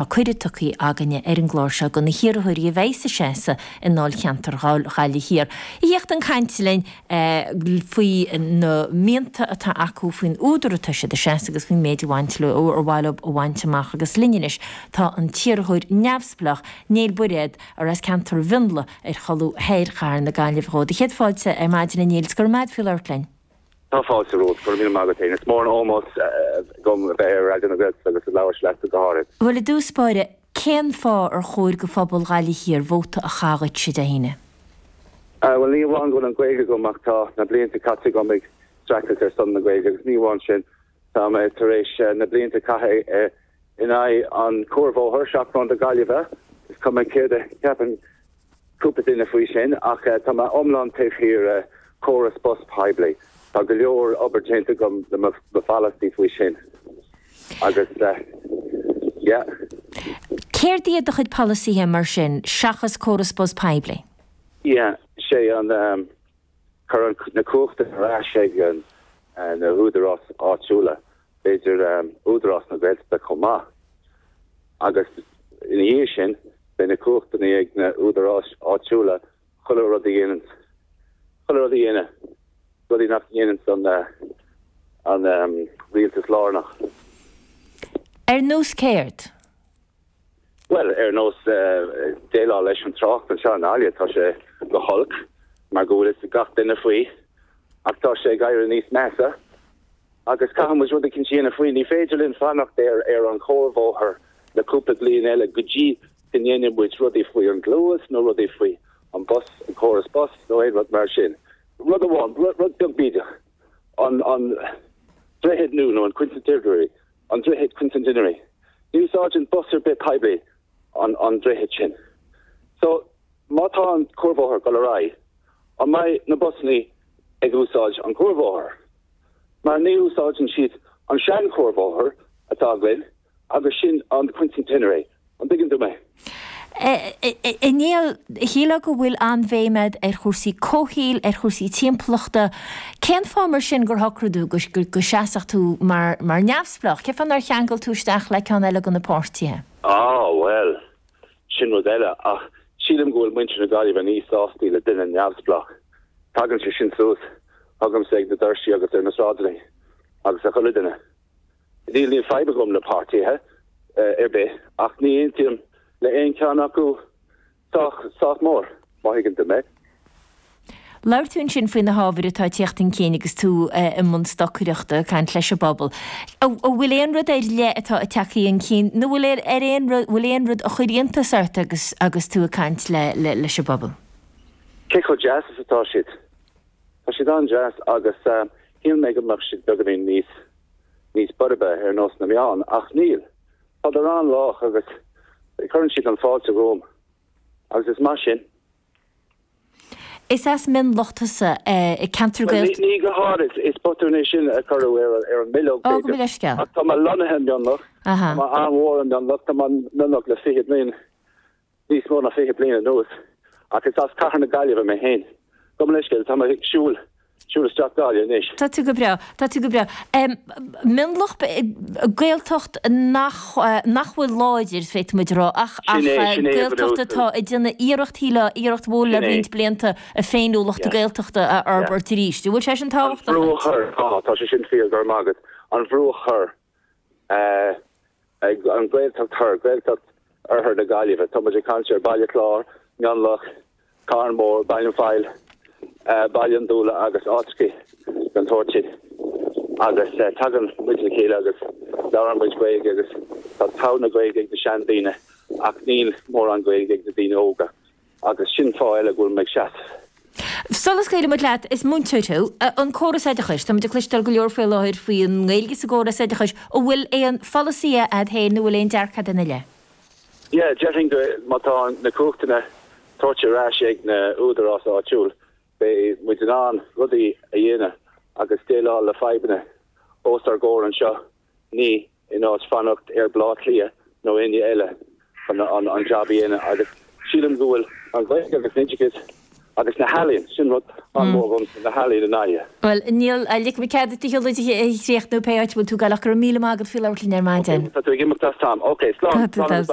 Tá cuireadh tugtha againne ar an gclár seo do na hiarrthóirí a bheidh ag seasamh i ndáilcheantar Ghaillimh Thiar a theacht chun cainte linn faoi na mianta atá acu, faoin údar atá siad ag seasamh agus faoin méid a bhaint leo, ar mhaith leo a bhaint amach. Agus linn anois tá an t-iarrthóir neamhspleách, Néill Bairéad, ar as ceantar Mhionlaigh ar cholbha thoir chathair na Gaillimhe dhó. Do chéad fáilte ar maidin a Néill is go raibh maith agat faoi labhairt linn. Tá fáilte romhat. Go raibh míle maith agat féin. Is mór an ómós dom a bheith ar Raidió na Gaeltachta agus ag labhairt leatsa go háirid. Bhuel, i dtús báire, cén fáth ar chóir go phobal Ghaillimh Thiar vóta a chaitheamh dhuitse Dé hAoine? Bhuel, ní amháin go bhfuil an Ghaeilge agam ach tá na blianta caite agam ag streachailt ar son na Gaeilge agus ní amháin sin, tá mé tar éis na blianta a chaitheamh in aghaidh an cuarbhóthar, Seachrán do Gaillimhe, is cuma céard a cheapann cúpla duine faoi sin ach tá mé iomlán taobh thiar de chóras bus poiblí. Tá go leor obair déanta agam le mo pholasaí faoi sin agus yeah. Céard iad do chuid polasaithe mar sin seachas córas bus poiblí? Yeah, sé an cur na cumhachta ar ais ag na húdaráis áitiúla, b'fhéidir Údarás na Gaeltachta chomh maith agus ina dhiaidh sin beidh na cumhachtanna ag na údaráis áitiúla chuile rud a dhéanann, chuile rud a dhéanamh, rudaí nach ndéanann an an rialtas lárnach. Ar nós céard? Bhuel, ar nós déileáil leis an trácht anseo i nGaillimh, tá sé go holc mar go bhfuil fhios ag gach duine faoi ach tá sé ag éirí níos measa agus caithfidh muid rud eicínt a dhéanamh faoi. Ní féidir linn fanacht ar ar an chuarbhóthar le cúpla bliain eile go dtí go ndéanfaidh muid rudaí faoi an gCluas nó rudaí faoi an bus, an córas bus nó aon rud mar sin. Rud amháin, rud beag bídeach, an an droichead nua nó an Quincentenary, an droichead Quincentenary. Ní úsáideann bus ar bith poiblí an an droichead sin. So, má tá an cuarbhóthar ag dul ar aghaidh, an mbeidh na busannaí ag úsáid an cuarbhóthar? Mar ní úsáideann siad an sean-chuarbhóthar atá againn agus sin an Quincentenary. An dtuigeann tú mé? A Néill, shílfeá go bhfuil an-bhéim agat ar chúrsaí comhshaoil, ar chúrsaí timpeallachta. Cén fáth mar sin gur shocraigh tú go seasfadh tú mar neamhspleách? Cén fáth nár cheangail tú isteach le ceann eile de na páirtithe? Á, bhuel, sin rud eile. Ach sílim go bhfuil muintir na Gaillimhe níos sástaí le duine neamhspleách. Tagann sé sin suas chugamsa ag na doirsí agus ar na sráideanna agus ag chuile duine. Níl níl fadhb agam le páirtithe ar bith ach ní aontaím le aon cheann acu sách sách mór, má thuigeann tú mé. Labhair tú ansin faoi na hábhair atá ag teacht chun cinn agus tú i mbun stocaireachta, ag caint leis an bpobal. An bhfuil aon rud ar leith atá ag teacht chun cinn nó bhfuil ar aon rud, bhfuil aon rud a chuir iontas ort agus agus tú ag caint le leis an bpobal? Cé chomh deas is atá siad. Tá siad an-deas agus shíl mé go mbeadh siad beagáinín níos níos boirbe ar nós na meán ach níl. Tádar an-lách agus cuireann siad an fáilte romham agus is maith sin. Is as Mionlach tusa, ceantar Bhuel, ní, ní go háirid. Is botún é sin a cuireadh ar, ar an mbileog, Ó, gabh mo leithscéal. Ach tá mé lonnaithe i Mionlach. Aha. Tá mé an-mhór i Mionlach. Tá mé i Mionlach le 20 bliain, níos mó ná 20 bliain anuas. Ach is as Cathair na Gaillimhe mé féin. Gabh mo leithscéal, tá mé ag siúl siúl isteach Gaillimh anois. Tá tú go breá. Tá tú go breá. Mionlach, Gaeltacht nach, nach bhfuil láidir, féadfaidh muid a rá, ach, ach Sin é, sin é a Gaeltacht bhunús. atá ag déanamh iarracht, shílfeá, iarracht mhór le Sin é. roinnt blianta a féiniúlacht Yeah. Gaeltachta a Yeah. fhorbairt arís. An bhfuil sé sin An tábhachtach brú a duit? chur, tá, tá sé sin fíor, go raibh maith agat. An brú a chur. Ag an Ghaeltacht Thoir, Gaeltacht Oirthear na Gaillimhe. Tá muid ag caint ar Baile Chláir, Mionlach, Carn Mór, Baile an Phoill, Baile an Dúla agus áiteacha den tsórt sin. Agus tagann muid le chéile agus labhrann muid Gaeilge agus tá togha na Gaeilge ag na seandaoine ach níl mórán Gaeilge ag na daoine óga. Agus sin fáth eile go bhfuil mé ag seasamh. Sula scaoilfidh muid leat, is múinteoir thú. An córas oideachais, tá muid ag cloisteáil go leor faoi láthair faoin nGaeilge sa gcóras oideachais. An bhfuil aon pholasaí a'd féin nó an bhfuil aon dearcadh a'd ina leith? Yeah, déarfainn go má tá na cumhachtanna tabhairt ar ais ag na údarás áitiúil, beidh muid in ann rudaí a dhéanamh agus déileáil le fadhbanna os ár gcomhair anseo. Ní in áit fanacht ar Bleá Cliath nó éinne eile chun an jab a dhéanamh agus sílim go bhfuil an Ghaeilge agus an oideachas Agus na healaíon, sin rud an-mhór dhomsa, na healaíon i nGaillimh. Bhuel, Niall, ligfidh mé cead duit do shiúlóid a chríochnú pé áit a bhfuil tú ag gabháil ach go raibh míle maith agat faoi labhairt linn ar maidin. Ok, tá tú ag imeacht as am. Ok, slán, slán agus beannacht.